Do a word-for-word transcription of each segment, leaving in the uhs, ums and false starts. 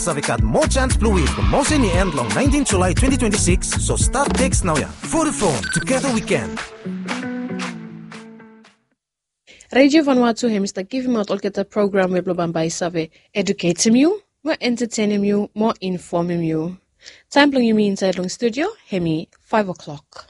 Save gat moa jans blong win from Mose ni en long naentin Julae twenti twenti sikis, so stat teks naoia. Vodafone, together we can. Radio Vanuatu hem i stap givimaot olgeta program we blong bambae i save eduketem yu, mo entetenem yu, mo infomem yu. Taem blong yumi insaed long studio hem i faef o'klok.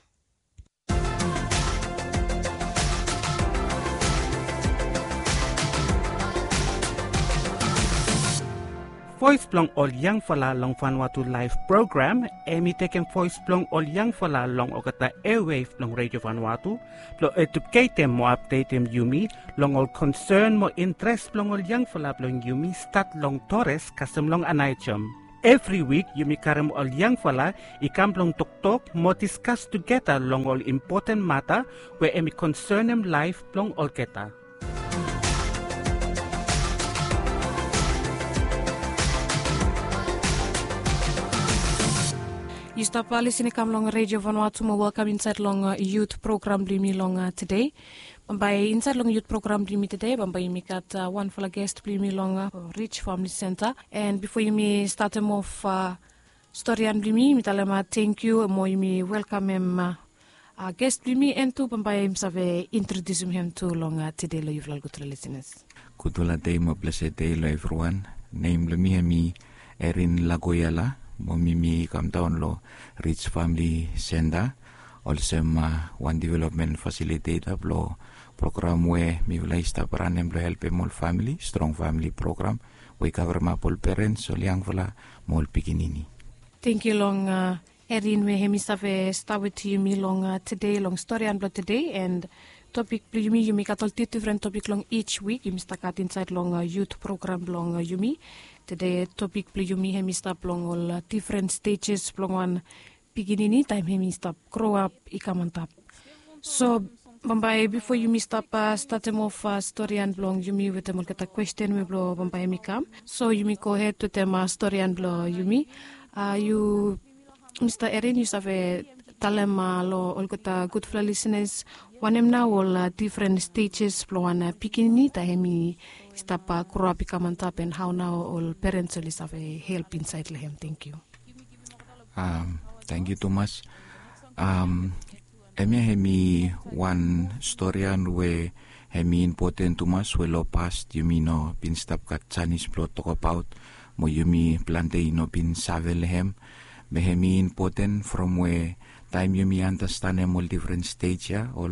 Voes blong ol yangfala long Vanuatu Laef program, hem i tekem voes blong ol yangfala long olgeta eawev blong Radio Vanuatu blong eduketem mo apdetem yumi long ol konsen mo intres blong ol yangfala blong yumi, stat long Torres kasem long Anaijom. Evri wik yumi karem ol yangfala i kam blong toktok mo diskas tugeta long ol impoten mata we hem i konsenem laef blong olgeta. Yu stap lisin i kam long Radio Vanuatu mo welkam insaed long yut program blong yumi long tede. Bambae insaed long yut program blong yumi tede bambae yumi gat wanfala ges blong yumi long Rich Famili Senta. An bifo yumi statem of storian blong yumi, yumi talem tangkiu mo yumi welkamem ges blong yumi, an tu bambae yumi save introdiusim hem tu long tede long yufala ol gudfala lisinas. Gudfala dei mo blesed dei long evriwan. Nem blong mi hem i Erin Lagoyala, mo mi mi kamdaon long Rich Famili Senta olsem wan developmen fasiliteta blong program we mifala i stap ranem blong helpem ol famili, strong famili program we i kavremap ol perens, ol yangfala mo ol pikinini. Tangkiu long Erin we hem i save stap wetem yumi long tede long storian blong tede. An topik blong yumi, yumi gat ol difdifren topik long ij wik yumi stap gat insaed long yut program blong yumi. Tede topik blong yumi hem i stap long ol difren stejes blong wan pikinini taem hem i stap groap i kam antap. So bambae bifo yumi stap statem of storian blong yumi wetem olgeta kwesten we blong bambae hem i kam, so yumi gohed wetem storian blong yumi. Yu Mista Erin, yu save talem long olgeta gudfala lisinas wanem nao ol difren stejes blong wan pikinini taem hem i stap groap i kam antap, an hao nao ol perens oli save help insaed long hem? Tangkiu. Tangkiu tumas. Hemia hem i wan storian we hem i impoten tumas we long pas yumi no bin stap gat janis blong tokbaot, mo yumi plante i no bin save long hem. Be hem i impoten from we taem yumi anastenem ol difren stej ya, ol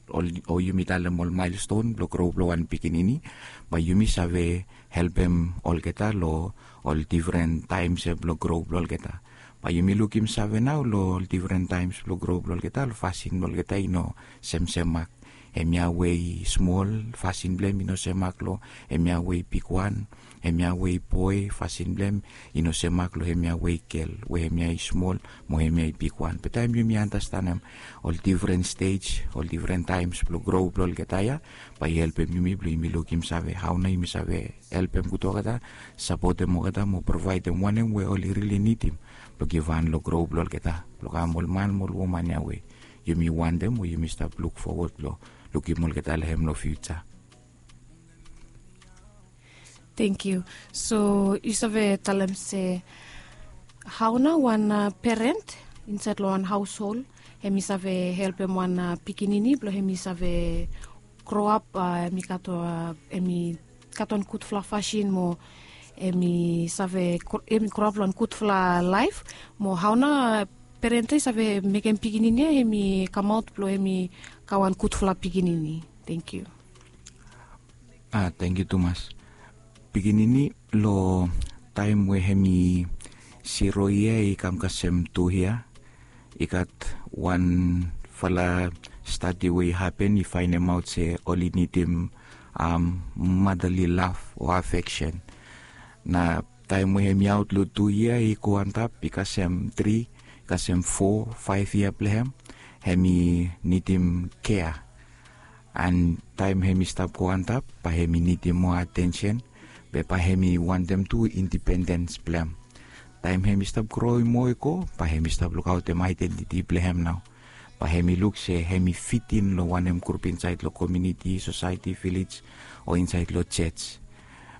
ol o yumi talem ol maelston blong gro blong wan pikinini, bae yumi save helpem olgeta long ol difren taems ya blong gro blong olgeta. Bae yumi lukim save nao long ol difren taems blong gro blong olgeta, ol fasin blong olgeta i no semsem mak. Hemia we i smol, fasin blong hem i no sem mak long hemia we i bigwan. Hemia we i boe, fasin blong hem i no sem mak long hemia we i gel, we hemia i smol mo hemia i bigwan. Be taem yumi anastenem ol difren stej, ol difren taems blong gro blong olgeta ya, bae i helpem yumi blong yumi lukim save hao nao yumi save helpem gud olgeta, sapotem olgeta mo provaedem wanem we oli rili nidim blong givhan long gro blong olgeta, blong kam ol man mo ol woman ya we yumi wantem, we yumi stap lukfowod blong lukim olgeta long hem long fiuja. Tangkiu. So yu save talem se hao nao wan peren insaed long wan haoshol hem i save helpem wan pikinini blong hem i save groap, hem i gat wan gudfala fasin mo hem i save hem i groap long wan gudfala laef, mo hao nao peren ya i save mekem pikinini ya hem i kamaot blong hem i kam wan gudfala pikinini? Tangkiu. A tangkiu tumas. Pikinini, long taem we hem i siro yia i kam kasem tu yia, i gat wanfala stadi we i hapen i faenemaot se oli nidim madali laf o afeksen. Na taem we hem i aot long tu yia i go antap i kasem tri, i kasem fo, faef yia blong hem, hem i nidim kea. An taem hem i stap go antap bae hem i nidim moa atensen, be bae hem i wantem tu indipendens blong hem. Taem hem i stap groem moa i go bae hem i stap lukaotem aedentiti blong hem nao. Bae hem i luk se hem i fitim long wanem grup insaed long komuniti, sosaeti, vilej, o insaed long joj.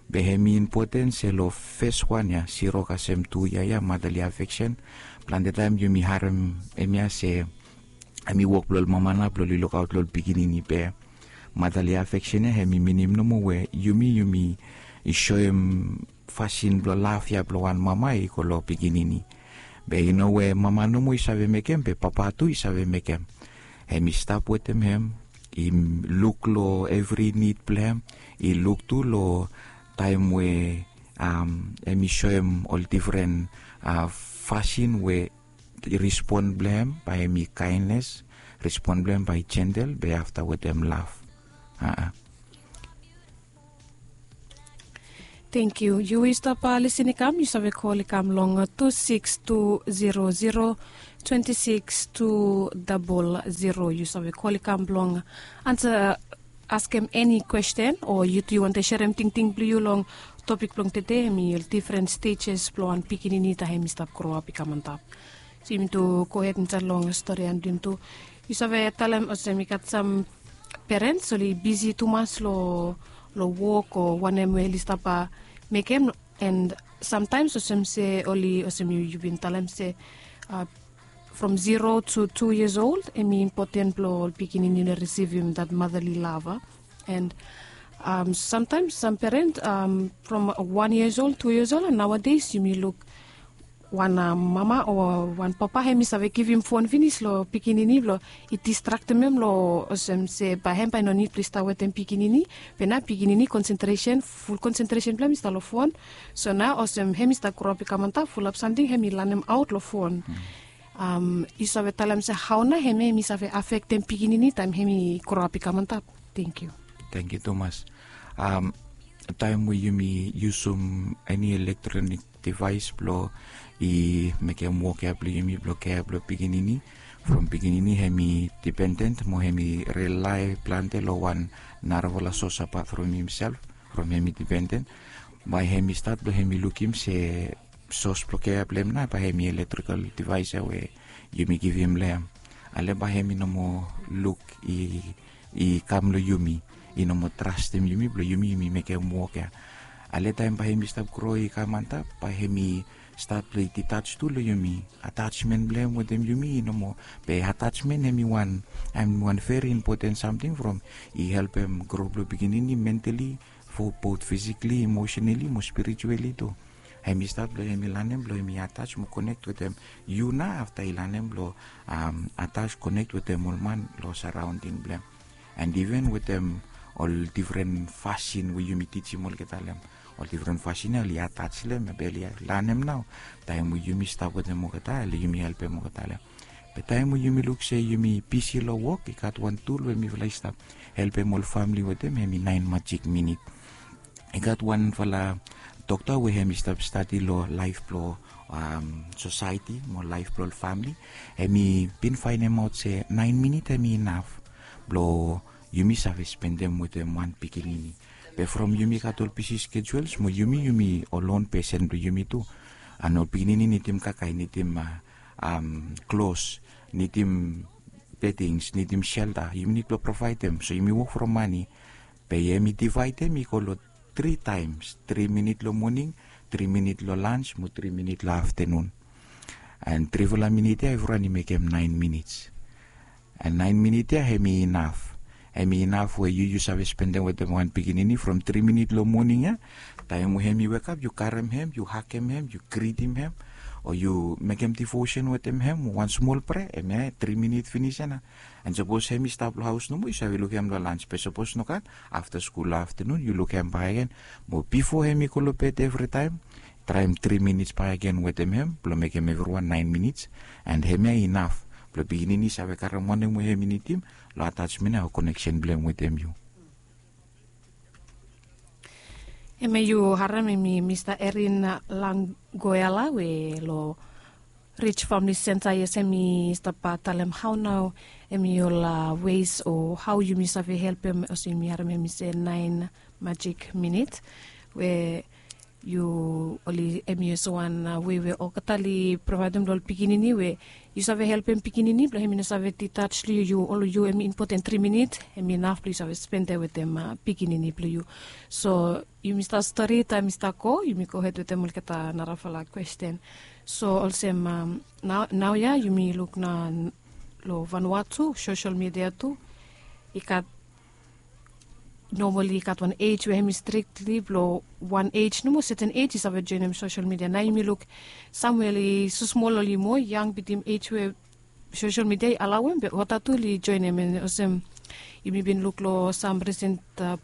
Be hem i impoten se long fes wan ya, zero kasem tu yia ya, motherly affection. Plante taem yumi harem hem ya se hem i wok blong ol mama nao blong ol lukaot long ol pikinini. Be motherly affection ya hem i minim nomo we yumi yumi i soem fasin blong laf ya blong wan mama i go long pikinini. Be i no we mama nomo i save mekem, be papa tu i save mekem. Hem i stap wetem hem, i luk long evri nid blong hem, i luk tu long taem we hem i soem ol difren fasin we respon blong hem bae hem i kaenes, respon blong hem bae i jentel, be afta wetem laf. Aa. Thank you. Yu i stap lisin i kam, yu save kol i kam long tu siks tu zero zero twenti siks tu dabol zero. Yu save kol i kam blong ansa, askem eni kwesten, o yu tu yu wantem serem tingting blong yu long topik blong tede, hem i ol difren stejes blong wan pikinini taem hem i stap groap i kam antap. So yumi tu gohed insaed long stori blong yumi tu. Yu save talem olsem i gat sam perens oli bisi tumas long wok o wanem we oli stap mekem, and samtaems olsem se oli olsem yu bin talem se from zero tu tu yias old hem i impoten blong ol pikinini oli risivim dat motherly love. And samtaems sam perens from wan yias old, tu yias old, and naoades yumi luk wan mama o wan papa hem i save givim fon finis long pikinini blong i distraktem hem long olsem se bae hem bae i no nid blong i stap wetem pikinini. Be nao pikinini konsentresen, ful konsentresen blong hem i stap long fon. So nao olsem hem i stap groap i kam antap, fulap samting hem i lanem aot long fon. Yu save talem se hao nao hem ya hem i save afektem pikinini taem hem i groap i kam antap? Thank you. Thank you tumas. Taem we yumi yusum eni elektronik devaes blong i mekem wok ya blong yumi blong kea blong pikinini, from pikinini hem i dipenden mo hem i rilae plante long wan narafala sos apat from himself, from hem i dipenden, bae hem i stat blong hem i lukim se sos blong kea blong hem nao bae hem i elektrikal devaes ya we yumi givim long hem. Ale bae hem i no moa luk i kam long yumi, i no moa trastem yumi blong yumi yumi mekem wok ya. Ale taem bae hem i stap gro i kam antap, bae hem i stat blong i ditaj tu long yumi. Atajmen blong hem wetem yumi i no moa. Be atajmen hem i wan, hem i wan veri impoten samting from i helpem gro blong pikinini mentali, fo bot fisikali, emosenali mo spirituali tu. Hem i stat blong hem i lanem blong hem i ataj mo konek wetem yu nao afta i lanem blong ataj konek wetem ol man long saraonding blong hem. And iven wetem ol difren fasin we yumi tijim olgeta long hem, ol difren fasin ya oli ataj long hem be oli lanem nao. Taem we yumi stap wetem olgeta oli yumi helpem olgeta long hem. Be taem we yumi luk se yumi bisi long wok, i gat wan tul we mifala i stap helpem ol famili wetem, hem i naen majik minit. I gat wanfala dokta we hem i stap stadi long laef blong sosaeti mo laef blong ol famili. Hem i bin faenemaot se naen minit hem i inaf blong yumi save spendem wetem wan pikinini. Be from yumi gat ol bisi skejuels mo yumi yumi ol on pesen blong yumi tu. And ol pikinini nidim kakae, nidim klos, nidim bedings, nidim selta, yumi nid blong provaedem. So yumi wok from mane. Be hem i divaedem i go long tri taems, tri minit long moning, tri minit long lans mo tri minit long aftenun. And trifala minit ya evriwan i mekem naen minits. And naen minit ya hem i inaf. Hem i inaf we yu yu save spendem wetem wan pikinini from tri minit long moning ya. Taem we hem i wekap yu karem hem, yu hagem hem, yu gritim hem, o yu mekem divosen wetem hem, wan smol prea, hemia tri minit finis ya nao. And sapos hem i stap long haos nomo yu save lukim hem long lans, be sapos nogat, afta skul long aftenun yu lukim hem bakegen. Mo bifo hem i go long bed evritaem, traem tri minits bakegen wetem hem blong mekem evriwan naen minits. And hemia i inaf blong pikinini i save karem wanem we hem i nidim long atajmen ya o koneksen blong hem wetem yu. Hemia yu harem hem i Mista Erin Langgoela we long Rich Famili Senta, yes, hem i stap talem hao nao hem i ol wes o hao yumi save helpem, olsem yumi harem hem i se naen majik minit we yu oli em i olsem wan wei we olgeta oli provaedem long ol pikinini we yu save helpem pikinini blong em i no save ditaj long yu, ol yu em i impoten tri minit em i naf blong yu save spendem wetem pikinini blong yu. So yumi stap stori taem mi stap go, yumi gohed wetem olgeta narafala kwesten. So olsem nao ya yumi luk na long vanua tu sosel midia tu i gat nomali i gat wan ej we hem i strikli blong wan ej nomo, seten ej i save joenem sosel midia. Nao yumi luk samwel i so smol oli moa yang bitim ej we sosel midia i alawem be olgeta tu oli joenem. Olsem yumi bin luk long sam risen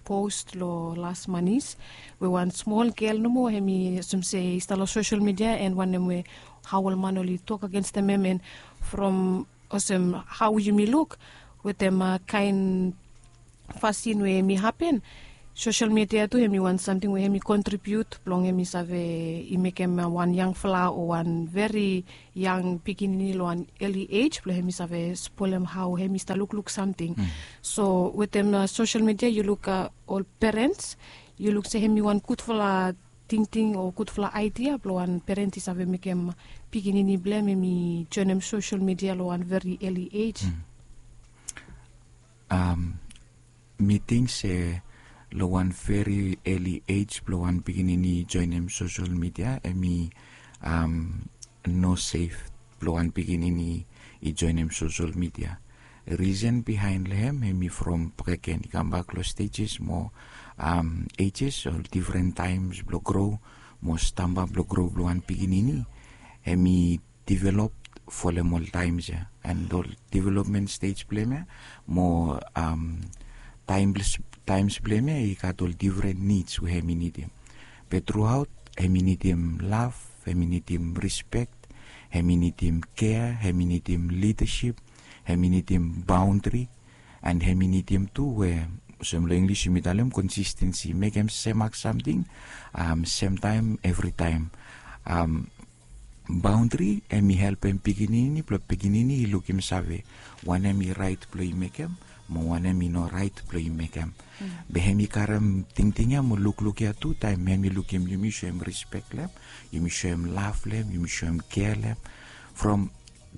pos long las manis we wan smol gel nomo hem i olsem se i stap long sosel midia en wanem we hao ol man oli tok agenstem hem en from olsem hao yumi luk wetem kaen fasin we hem i hapen, sosel midia tu hem i wan samting we hem i kontribiut blong hem i save i mekem wan yangfala o wan veri yang pikinini long wan eli ej blong hem i save spolem hao hem i stap lukluk samting. So wetem sosel midia yu luk ol perens yu luk se hem i wan gudfala tingting o gudfala aidia blong wan peren i save mekem pikinini blong hem hem i joenem sosel midia long wan veri eli ej. Mi ting se long wan veri eli ej blong wan pikinini i joenem sosel midia hem i no sef blong wan pikinini i joenem sosel midia. Risen bihaen long hem hem i from breken i kambak long stejes mo ejes ol difren taems blong gro mo stamba blong gro blong wan pikinini hem i divelop folem ol taems ya. And ol divelopmen stej blong hem ya mo taems blong hem ya i gat ol difren nids we hem i nidim. Be truaot hem i nidim lav, hem i nidim rispek, hem i nidim kea, hem i nidim lidasip, hem i nidim baondri, and hem i nidim tu we olsem long inglis yumi talem konsistensi, mekem semak samting semtaem evritaem. Baondri hem i helpem pikinini blong pikinini i lukim save wanem i raet blong i mekem mo wanem i no raet blong i mekem. Be hem i karem tingting ya mo lukluk ya tu taem hem i lukim yumi soem rispek long hem, yumi soem lav long hem, yumi soem kea long hem. From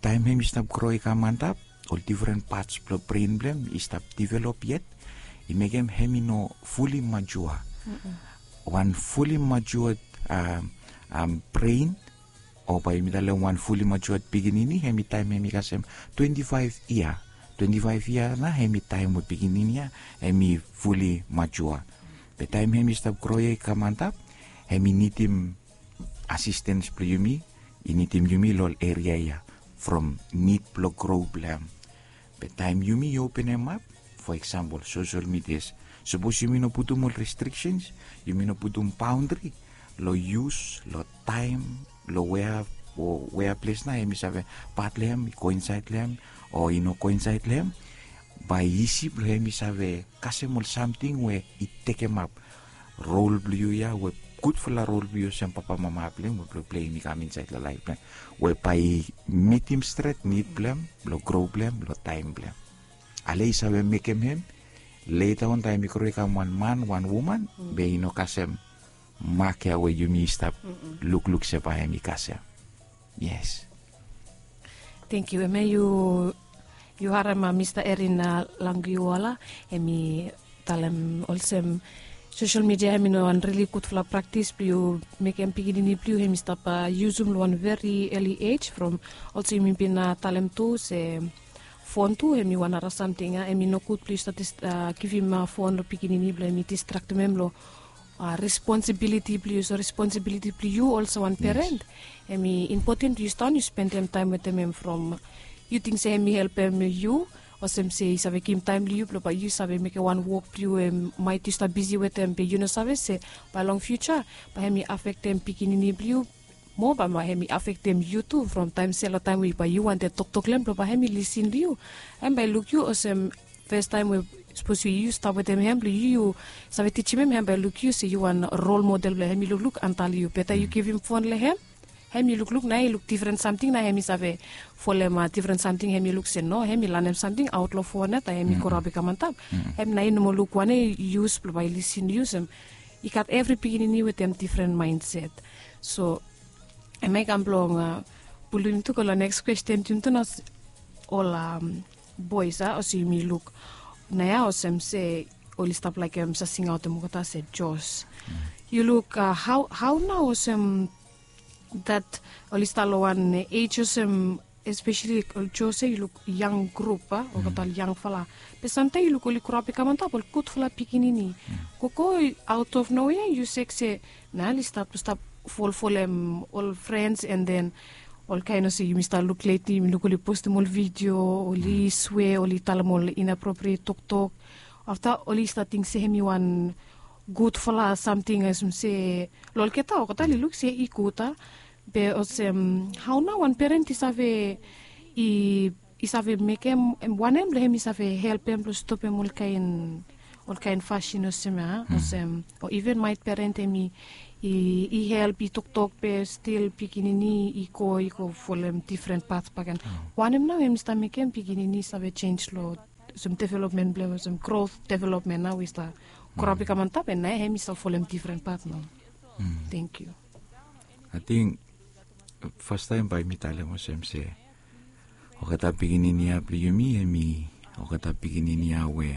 taem hem i stap gro i kam antap ol difren pats blong bren blong hem i stap divelop yet i mekem hem i no fuli majua. Wan fuli majua bren o bae yumi talem wan fuli majua pikinini hem i taem hem i kasem twenti faef yia. Twenti faef yia nao hem i taem we pikinini ya hem i fuli majua. Be taem hem i stap gro ya i kam antap hem i nidim asistens blong yumi, i nidim yumi long ol eria ya from nid blong gro blong hem. Be taem yumi i openemap fo eksampol sosel midias, sapos yumi no putum ol restriksens, yumi no putum baondri long yus long taem long wea o wea ples nao hem i save pat long hem, i go insaed long hem o i no go insaed long hem, bae isi blong hem i save kasem ol samting we i tekemap rol blong yu ya we gudfala rol blong yu olsem papamama blong hem we blong pleim i kam insaed long laef blong hem we bae i mitim stret nid blong hem blong gro blong hem long taem blong hem. Ale i save mekem hem leta on taem i gro i kam wan man wan woman be i no kasem mak ya we yumi i stap lukluk se bae hem i kasem. Yes. Tengkiu. Hemia yu harem mista Erin Langiuala hem i talem olsem sosel midia hem i no wan rili gudfala praktis blong yu mekem pikinini blong yu hem i stap yusum long wan veri eli ej from olsem yumi bin talem tu se fon tu hem i wan nara samting ya hem i nogud blong yu stap givim fon long pikinini blong hem i distraktem hem long responsibiliti blong yu. So responsibiliti blong yu olsem wan peren hem i impoten blong yu stap on yu spendem taem wetem hem from yu ting se hem i helpem yu olsem se i save givim taem long yu blong bae yu save mekem wan wok blong yu we maet yu stap bisi wetem be yu no save se bae long fiuja bae hem i afektem pikinini blong yu moa bae hem i afektem yu tu from taem se long taem we bae yu wantem toktok long hem blong bae hem i lisin long yu. Hem bae i luk yu olsem fastaem we sapos yu stap wetem hem blong yu yu save tijim hem hem bae i luk yu se yu wan rol model blong hem i lukluk antap long yu beta yu givim fon long hem hem i lukluk nao i luk difren samting nao hem i save folem difren samting hem i luk se no hem i lanem samting aot long fon ya taem hem i go raob i kam antap. Hem nao i no moa luk wanem i yus blong bae i lisin long yu olsem i gat evri pikinini wetem difren maenset. So em ya i kam blong pulim tu go long neks kwesten, tim tu na ol bois a olsem yumi luk na ya olsem se oli stap laikim sa singaotem olgeta se jos. Yu luk hau nau olsem dat oli stap long wan ej olsem, espeseli ol jos ya yu luk yang grup a olgeta ol yangfala. Be samtaim yu luk oli krop i kam antap ol gudfala pikinini. Gogo aut of nowe ya yu sek se na oli stap stap folfolem ol frens en den ol kain olsem yumi stap luk leti yumi luk oli postim ol vidio, oli swe, oli talem ol inapropriet toktok. Afta oli stap ting se hem i wan gudfala samting olsem se long olgeta olgeta oli luk se i gud a. Be olsem hau nau wan peren i save i i save mekem wanem blong hem i save helpem blong stopem ol kain ol kain fasin olsem ya olsem o iven maet peren hem i i help i toktok be stil pikinini i go i go folem difren pat baken. Wanem nau hem i stap mekem pikinini i save jenj long olsem developmen blong olsem grot developmen nau i stap krop i kam antap en na hem i stap folem difren pat nau. Tenkyu. Ating fastaim bae mi talem olsem se olgeta pikinini ya blong yumi hem i olgeta pikinini ya we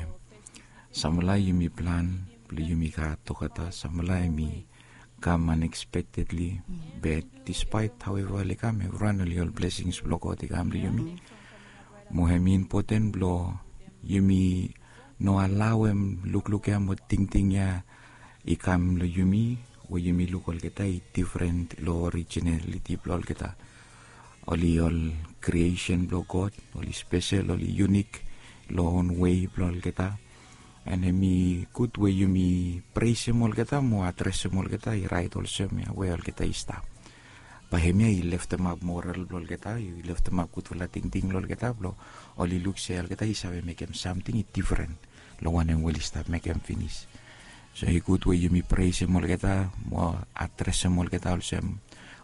samfala yumi plan blong yumi gat olgeta samfala hem i kam anekspektedli. Be dispaet haueva oli kam evriwan oli ol blesings blong god i kam long yumi. Mo hem i impoten blong yumi no alaoem lukluk ya mo tingting ya i kam long yumi we yumi luk olgeta i difren long orijinaliti blong olgeta. Oli ol kriesen blong god, oli spesel, oli yunik long on wei blong olgeta. En hem i gud we yumi presem olgeta mo adresem olgeta i rait olsem ya we olgeta i stap. Bae hem ya i leftemap moral blong olgeta i leftemap gudfala tingting long olgeta blong oli luk se olgeta i save mekem samting i difren long wanem we oli stap mekem finis. So i gud we yumi presem olgeta mo adresem olgeta olsem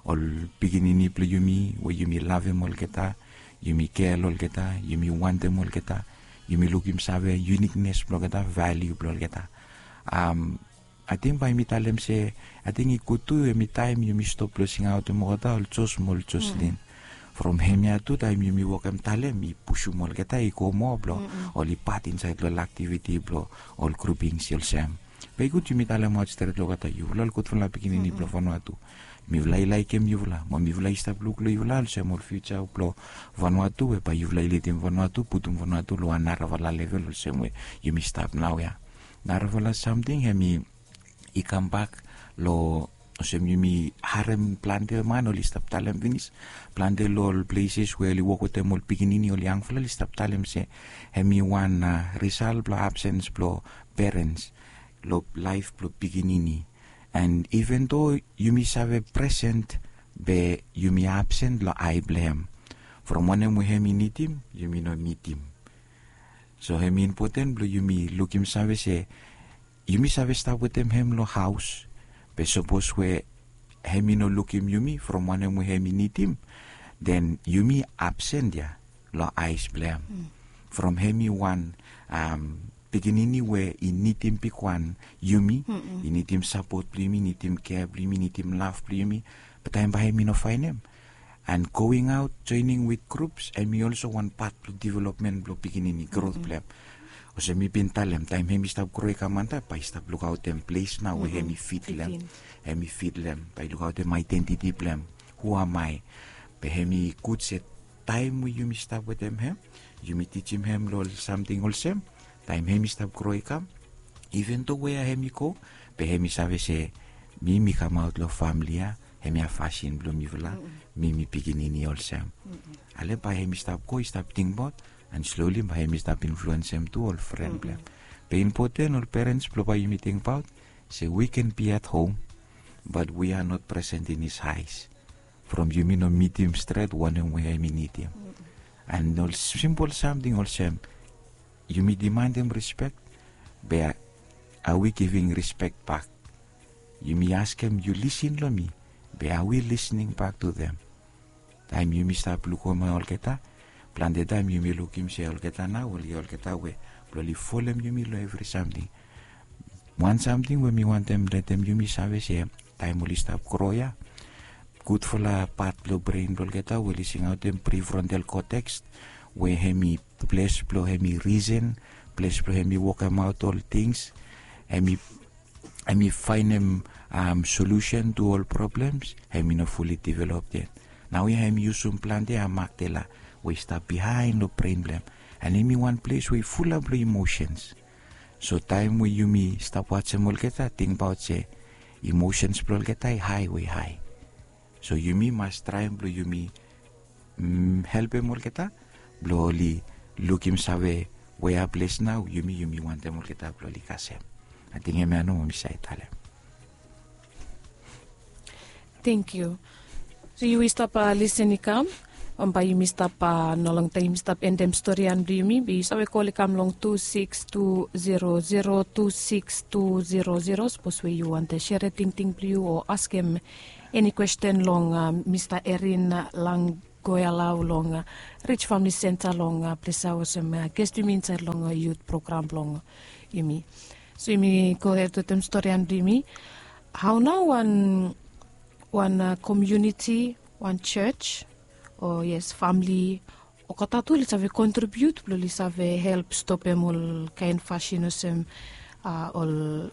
ol pikinini blong yumi we yumi lavem olgeta, yumi kel olgeta, yumi wantem olgeta, yumi lukim save yuniknes blong olgeta, valiu blong olgeta. Ating bae mi talem se ating i gud tu hem i taem yumi stop blong singaotem olgeta ol jos mo ol joslin. From hem ya tu taem yumi wokem talem i pusum olgeta i go moa blong oli pat insaed long ol aktiviti blong ol grupings olsem. Be i gud yumi talemaot stret long olgeta yufala ol gudfala pikinini blong vanua tu. Mifala i laikim yufala mo mifala i stap luk long yufala olsem ol fiuja blong vanua tu we bae yufala i lidim vanua tu putum vanua tu long wan narafala level olsem we yumi stap nau ya. Narafala samting hem i kambak long olsem yumi harem plante man oli stap talem finis plante long ol pleses we oli wok wetem ol pikinini ol yangfala oli stap talem se hem i wan risal blong absens blong perens long laef blong pikinini. En iven do yumi save presen be yumi absen long ae blong hem. From wanem we hem i nidim yumi no mitim. So hem i impoten blong yumi lukim save se yumi save stap wetem hem long haos. Be sapos we hem i no lukim yumi from wanem we hem i nidim, den yumi absen ya long aes blong hem. From hem i wan pikinini we i nidim bigwan yumi, i nidim sapot blong yumi, i nidim kea blong yumi, i nidim lav blong yumi. Be taem bae hem i no faenem. And going out joining with groups hem i olso wan pat blong developmen blong pikinini grot blong hem. Olsem mi bin talem taem hem i stap gro i kam antap bae i stap lukaotem ples nao we hem i fit long hem, hem i fit long hem bae i lukaotem aedentiti blong hem. Hu am ae? Be hem i gud se taem we yumi stap wetem hem, yumi tijim hem long ol samting olsem, taem hem i stap gro i kam, iven do wea hem i go, be hem i save se mi mi kamaot long famili ya, hemia fasin blong mifala, mi mi pikinini olsem. Ale bae hem i stap go i stap tingbaot, and slowli bae hem i stap influensem tu ol fren blong hem. Be impoten ol perens blong bae yumi tingbaot se we can be at home, but we are not present in his house. From yumi no mitim stret wanem we hem i nidim. And ol simpol samting olsem, yumi dimandim rispek, be are we giving rispek bak? Yumi askem yu lisin long mi, be are we listening back to them? Taem yumi stap lukim olgeta, plante taem yumi lukim se olgeta nao oli olgeta we blong oli folem yumi long evri samting. Wan samting we mi wantem letem yumi save se taem oli stap gro ya, gudfala pat blong bren blong olgeta we oli singaotem prefrontal cortex, we hem i ples blong hem i risen, ples blong hem i wokemaot ol tings, hem i hem i faenem solusen tu ol problems, hem i no fuli develop yet. Nao ya hem i yusum plante amakdela we i stap bihaen long bren blong hem, and hem i wan ples we i fulap long imosens. So taem we yumi stap wajem olgeta, tingbaot se imosens blong olgeta i hae we i hae. So yumi mas traem blong yumi mm, helpem olgeta blong oli lukim save wea ples nao yumi yumi wantem olgeta blong oli kasem. Ating hemia nomo mi save talem. Tenkyu. So yu i stap lisen i kam, bae yumi stap, no long taem yumi stap endem storian blong yumi, be yu save kol i kam long tu sikis tu zero zero, tu sikis tu zero zero, sapos we yu wantem sere tingting blong yu o askem eni kwesten long mista Erin Langgoelau long Rich Famili Senta long ples ya olsem ges blong yumi insaed long yut program blong yumi. So yumi gohed wetem storian blong yumi. Hao nao wan wan komuniti, wan jos, o yes, famili, olgeta tu oli save kontribiut blong oli save help stopem ol kaen fasin olsem ol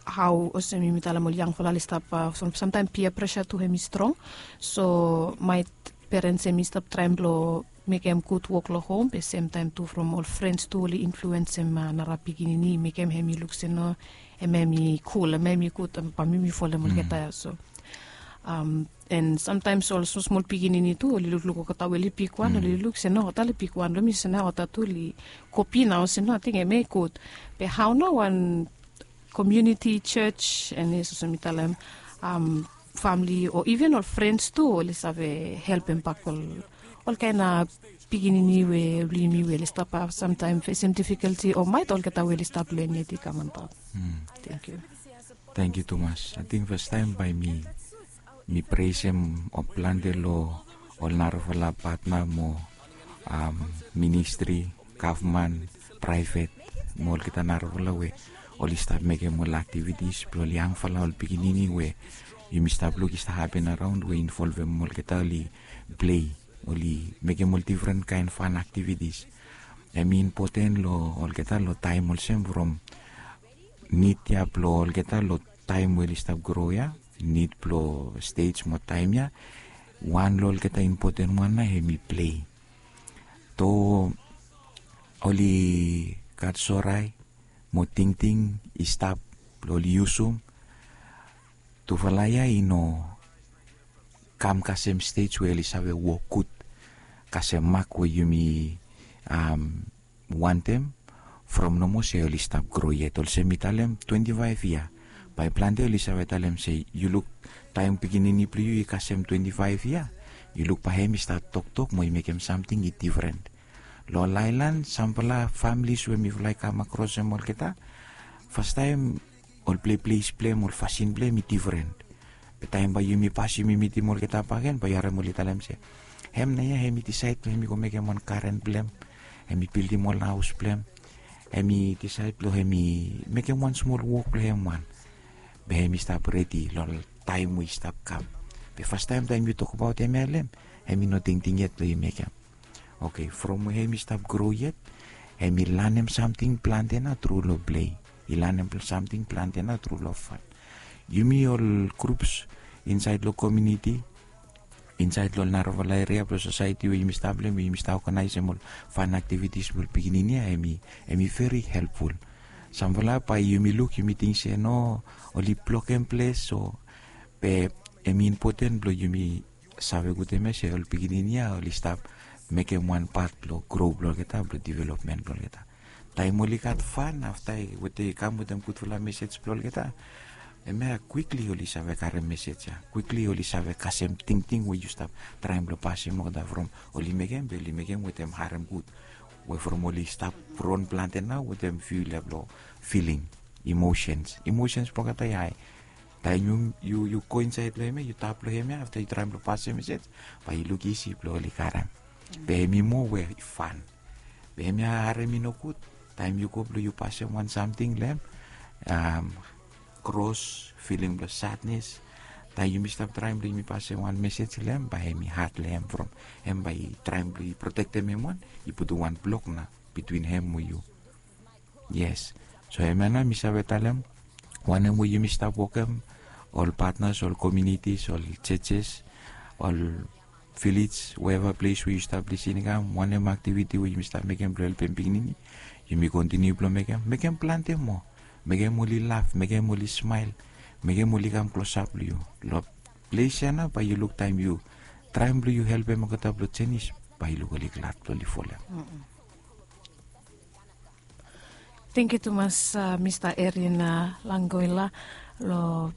hao olsem yumi talem ol yangfala oli stap, samtaem pia presa tu hem i strong. So maet perens hem i stap traem blong mekem gud wok long hom, be semtaem tu from ol frens tu oli influensem nara pikinini, mekem hem i luk se no, hem hem i kul, hem hem i gud, bae mi mi folem olgeta ya. So and samtaem ol smol smol pikinini tu oli lukluk olgeta we oli bigwan, oli luk se no, olgeta oli bigwan long mi, se nao olgeta tu oli kopi nao se no, ating hem hem i gud. Be hao nao wan komuniti, jos, and yes, olsem mi talem, famili o iven ol frens tu oli save helpem bak ol olkaen pikinini we blong yumi we oli stap samtaem fesem difikulti o maet olgeta we oli stap len yet i kam antap. Tenkyu. Tenkyu tumas. Ating fastaem bae mi mi presem ol plante long ol narafala patna mo ministri, gavman, praevet, mo olgeta narafala we oli stap mekem ol aktivitis blong ol yangfala, ol pikinini we yumi stap luk i stap hapen araon we involvem olgeta oli plei, oli mekem ol difren kaen fan aktivitis. Hem i impoten long olgeta long taem olsem from nid ya blong olgeta long taem we oli stap gro ya, nid blong stej mo taem ya. Wan long olgeta impoten wan nao hem i plei. Too oli gat sorae mo tingting i stap blong oli yusum, tufala ya i no kam kasem stej we oli save wok gud kasem mak we yumi wantem, from nomo se oli stap gro yet. Olsem mi talem twenti faef yia, bae plante oli save talem se yu luk taem pikinini blong yu i kasem twenti faef yia, yu luk bae hem i stat toktok mo i mekem samting i difren. Long ol aelan samfala familis we mifala i kamakrosem olgeta, fastaem ol pleples blong hem, ol fasin blong hem i difren. Be taem bae yumi pasem, yumi mitim olgeta bakegen, bae yu harem oli talem se, hem nao ya hem i disaed blong hem i go mekem wan garen blong hem, hem i bildim ol haos blong hem, hem i disaed blong hem i mekem wan smol wok blong hem wan. Be hem i stap redi long taem we i stap kam. Be fastaem taem yu tokbaot hemia long hem, hem i no tingting yet blong i mekem. Oke, from we hem i stap gro yet, hem i lanem samting plante nao tru long plei. I lanem samting plante nao tru long fan. Yumi ol grups insaed long komuniti, insaed long ol narafala eria blong sosaeti we yumi stap long hem, we yumi stap oganaesem ol fan aktivitis blong ol pikinini ya, hem i veri helpful. Samfala bae yumi luk yumi ting se no, oli blokem ples o, be hem i impoten blong yumi save gud hemia se ol pikinini ya oli stap mekem wan pat blong gro blong olgeta, blong developmen blong olgeta. Taem oli gat fan afta we oli kam wetem gudfala mesej blong olgeta, hemia kwikli oli save karem mesej ya, kwikli oli save kasem tingting we yu stap traem blong pasem olgeta from oli mekem, be oli mekem wetem harem gud, we from oli stap ron plante nao wetem fiu yia blong filing, imosens, imosens blong olgeta i hae. Taem yu yu go insaed long hemia, yu tap long hemia afta yu traem blong pasem mesej, bae yu luk isi blong oli karem. Be hem i moa we i fan. Be hemia harem i nogud. Taem yu go blong yu pasem wan samting long hem, um, kros, filing blong sadnes. Taem yumi stap traem blong yumi pasem wan mesej long hem, bae hemi had long hem from hem bae i traem blong i protektem hem wan, i putum wan blok nao bitwin hem mo yu. Yes. So hemia nao mi save talem, wanem we yumi stap wokem, ol patnas, ol komunitis, ol jejes, ol vilej, weva ples we yu stap lisin i kam, wanem aktiviti we yumi stap mekem blong helpem pikinini, yumi kontiniu blong mekem, mekem plante moa. Mekem oli laf, mekem oli smael, mekem oli kam klosap long yu. Long ples ya nao bae yu luk taem yu traem blong yu helpem olgeta blong jenis, bae yu luk oli glad blong oli folem. Tangkiu tumas, mista Erin Langoila, long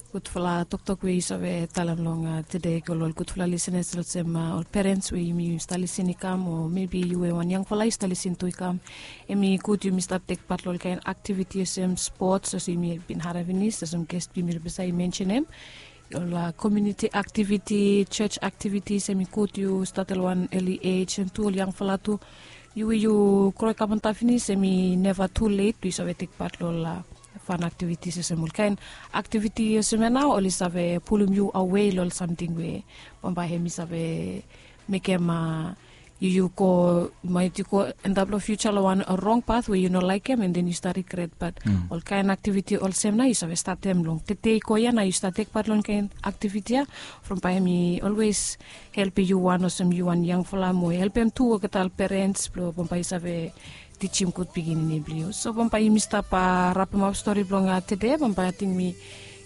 gudfala toktok we yu save talem long tede i go long ol gudfala lisenas olsem ol perens we yumi stap lisin i kam, o mebi yu we wan yangfala yu stap lisin tu i kam. Hemi gud yumi stap tek pat long ol kaen aktiviti olsem spots olsem yumi bin harem finis olsem ges blong yumi rebesa i mensenem, ol komuniti aktiviti, jos aktivitis, hemi gud yu stat long wan eli ej, an tu ol yangfala tu. Yu we yu gro i kam antap finis, hemi neva tu let blong yu save tek pat long ol fan aktivitis olsem ol kaen aktiviti olsem ya nao oli save pulum yu awe long ol samting we bambae hemi save mekem yu, yu go, maet yu go endap long fiuja long wan rong pat we yu no laekem, an den yu stap rigret. Bat ol kaen aktiviti olsem nao yu save statem long tede i go ya nao yu stap tek pat long kaen aktiviti ya, from bae hemi olwes helpem yu wan olsem yu wan yangfala mo helpem tu olgeta ol perens blong bambae yu save tijim gud pikinini blong yu. So bambae yumi stap rapemap stori blong tede, bambae ating mi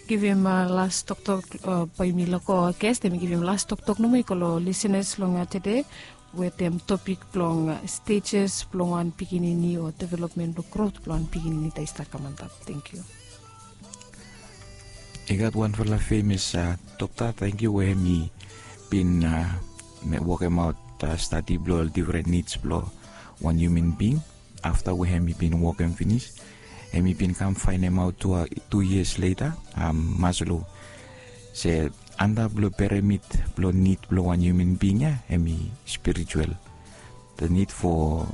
givim las toktok, bae yumi lego ges, mi givim las toktok nomo i go long lisenas long tede, wetem topik blong stejes blong wan pikinini o developmen blong grot blong wan pikinini taem i stap kam antap. Tangkiu. I gat wanfala femes dokta, tangkiu, we hemi bin wokemaot stadi blong ol difren nids blong wan hiuman bing. Afta we hemi bin wokem finis, hemi bin kam faenemaot tu yias leta, Maslow, se antap long piramid blong nid blong wan hiuman bing ya hemi spiritual. The need for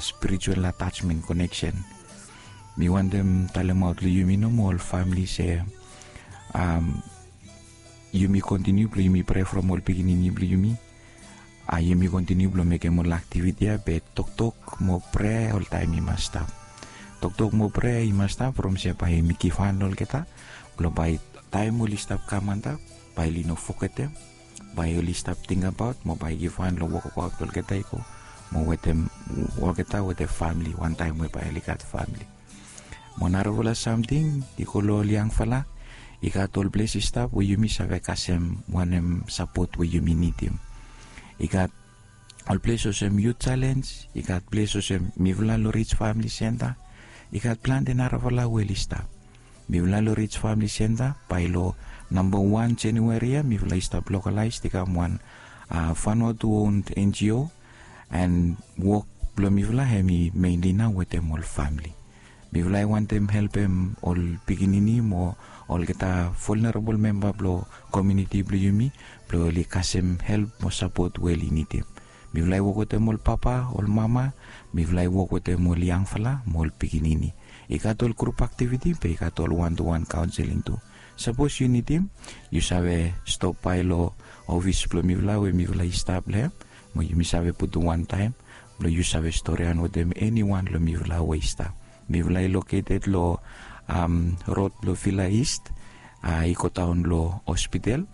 spiritual attachment, connection. Mi wantem talemaot long yumi nomo ol famili se yumi kontiniu blong yumi prea from ol pikinini blong yumi. Yumi kontiniu blong mekem ol aktiviti ya, be toktok mo prea oltaem i mas stap. Toktok mo prea i mas stap from se bae yumi givhan long olgeta blong bae taem oli stap kam antap, bae oli no fogetem, bae oli stap tingbaot mo bae givhan long wokabaot blong olgeta i go, mo wetem olgeta wetem famili wantaem we bae oli gat famili. Mo narafala samting i go long ol yangfala, i gat ol ples i stap we yumi save kasem wanem sapot we yumi nidim. I gat ol ples olsem Youth Challenge, i gat ples olsem mifala long Rich Family Centre, i gat plante narafala we oli stap. Mifala long Rich Family Centre, bae long namba wan January ya mifala i stap lokalaes i kam wan Vanuatu owned N G O, and wok blong mifala hemi mainly nao wetem ol famili. Mifala i wantem helpem ol pikinini mo olgeta vulnerable memba blong komuniti blong yumi blong oli kasem help mo sapot we oli nidim. Mifala i wok wetem ol papa, ol mama, mifala i wok wetem ol yangfala mo ol pikinini. I gat ol grup aktiviti be i gat ol wan tu wan kaonseling tu. Sapos yu nidim, yu save stop bae long ofis blong mifala we mifala i stap long hem, mo yumi save putum wantaem blong yu save storian wetem eniwan long mifala we i stap. Mifala i loketed long rod blong Villa East i go daon long hospital.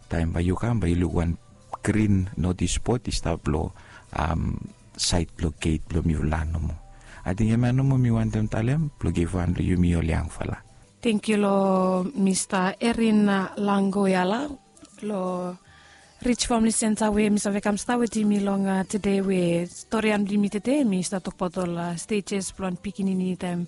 Taem bae yu kam bae yu luk wan grin notis bod i stap long saed blong geit blong mifala nomo. Ating hemia nomo mi wantem talem blong givhan long yumi ol yangfala. Tangkiu long Mista Erin Langoyala long Rich Family Centre we mi save kam stap wetem yumi long tede, we storian blong yumi tede mi stap tokbaot ol stejes blong wan pikinini taem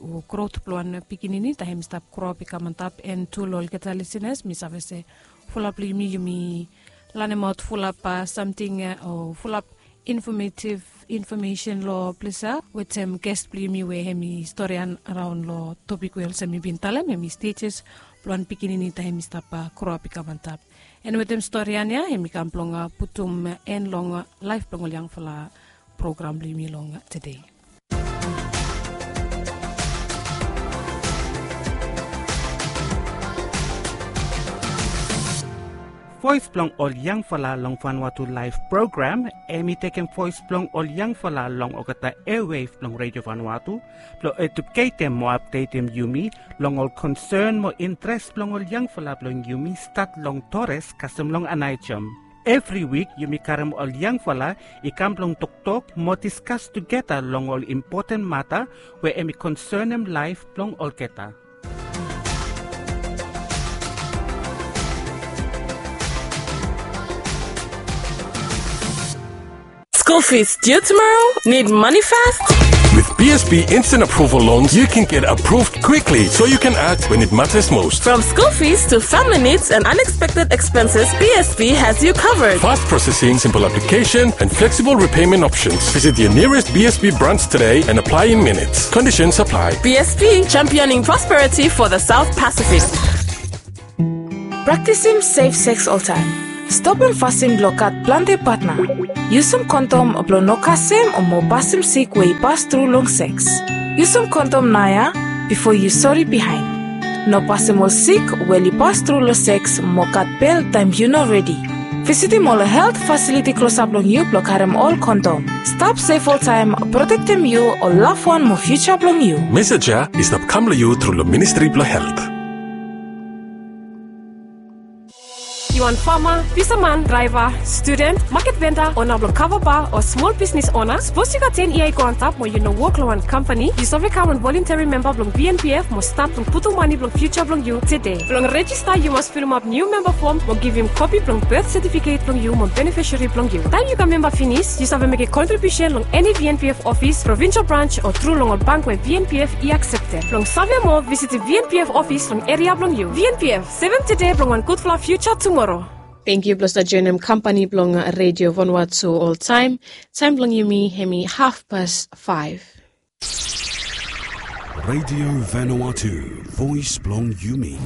o grot blong wan pikinini taem hemi stap groap i kam antap. And tu long olgeta lisenas, mi save se fulap long yumi yumi lanemaot fulap samting o fulap infomesen long ples ya wetem ges blong yumi we hemi storian raon long topik we olsem mi bin talem, hemi stejes blong wan pikinini taem hemi stap groap i kam antap. And wetem storian ya hemi kam blong putum en long laef blong ol yangfala program blong yumi long tede. Voes blong ol yangfala long Vanuatu Laef program, hemi tekem voes blong ol yangfala long olgeta airwave blong Redio Vanuatu, blong eduketem mo apdetem yumi long ol konsern mo intres blong ol yangfala blong yumi, stat long Torres kasem long Aneityum. Evri wik yumi karem ol yangfala i kam blong toktok mo diskas tugeta long ol impoten mata we hemi konsenem laef blong olgeta. School fees due tomorrow? Need money fast? With B S B Instant Approval Loans, you can get approved quickly so you can act when it matters most. From school fees to family needs and unexpected expenses, B S B has you covered. Fast processing, simple application, and flexible repayment options. Visit your nearest B S B branch today and apply in minutes. Conditions apply. B S B, championing prosperity for the South Pacific. Praktisim sef seks oltaem. Stopem fasin blong gat plante patna. Yusum kondom blong no kasem o mo pasem sik we i pas tru long seks. Yusum kondom naoia bifo yu sori bihaen. No pasem ol sik we oli pas tru long seks mo gat bel taem yu no redi. Visitim ol helt fasiliti klosap long yu blong karem ol kondom. Stap sef oltaem, protektem yu, ol lavwan mo fiuja blong yu. Mesej ya i stap kam long yu tru long Ministri blong Helt. Yu wan fama, bisaman, draeva, studen, maket venda, ona blong kava ba o smol bisnis ona? Sapos yu gat ten yia i go antap mo yu no wok long wan kampani, yu save kam wan volunteri memba blong B N P F mo stat blong putum mane blong fiuja blong yu tede. Blong rejista yu mas filimap niu memba fom mo givim kopi blong bet setifiket blong yu mo benefisari blong yu. Taem yu kam memba finis, yu save mekem kontribiusen long eni V N P F ofis, provinsel brans o tru long ol bank we V N P F i akseptem. Blong save moa, visitim V N P F ofis long eria blong yu. V N P F, sevem tede blong wan gudfala fiuja tumoro. Tangkiu blong stap joenem kampani blong Redio Vanuatu oltaem. Taem blong yumi hemi hafpas faef. Redio Vanuatu, voes blong yumi.